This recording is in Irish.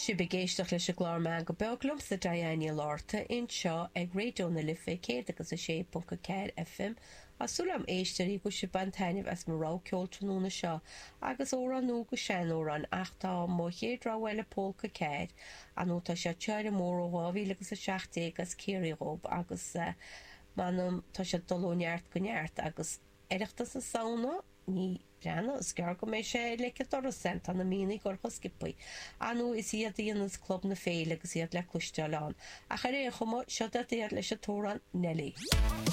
Sibh ag éisteacht leis an gclár Meangadh Beag liomsa Diane Ní Fhlatharta anseo ag Raidió na Life 106.4 FM. Tá súil agam a éisteoirí go bhfuil sibh ag baint taitneamh as mo rogha ceoil tráthnóna seo agus amhrán nua go sean-amhrán ach tá mo chéad rogha eile Pólca 4 ar ndóigh tá sé tíre mór ó 2017 as Ciarraí dhób agus m'anam tá sé ag dul ó neart go neart agus Oireachtas na Samhna ní Breathnaigh, is gearr go mbeidh sé ar leic an dorais ann, tá na míonna ag dul chomh sciobthaí. Ar ndóigh, is iad a dhéanas Club na Féile agus iad le cloisteáil ann. Ach ar aon chuma, seo iad leis an t-amhrán Nellie.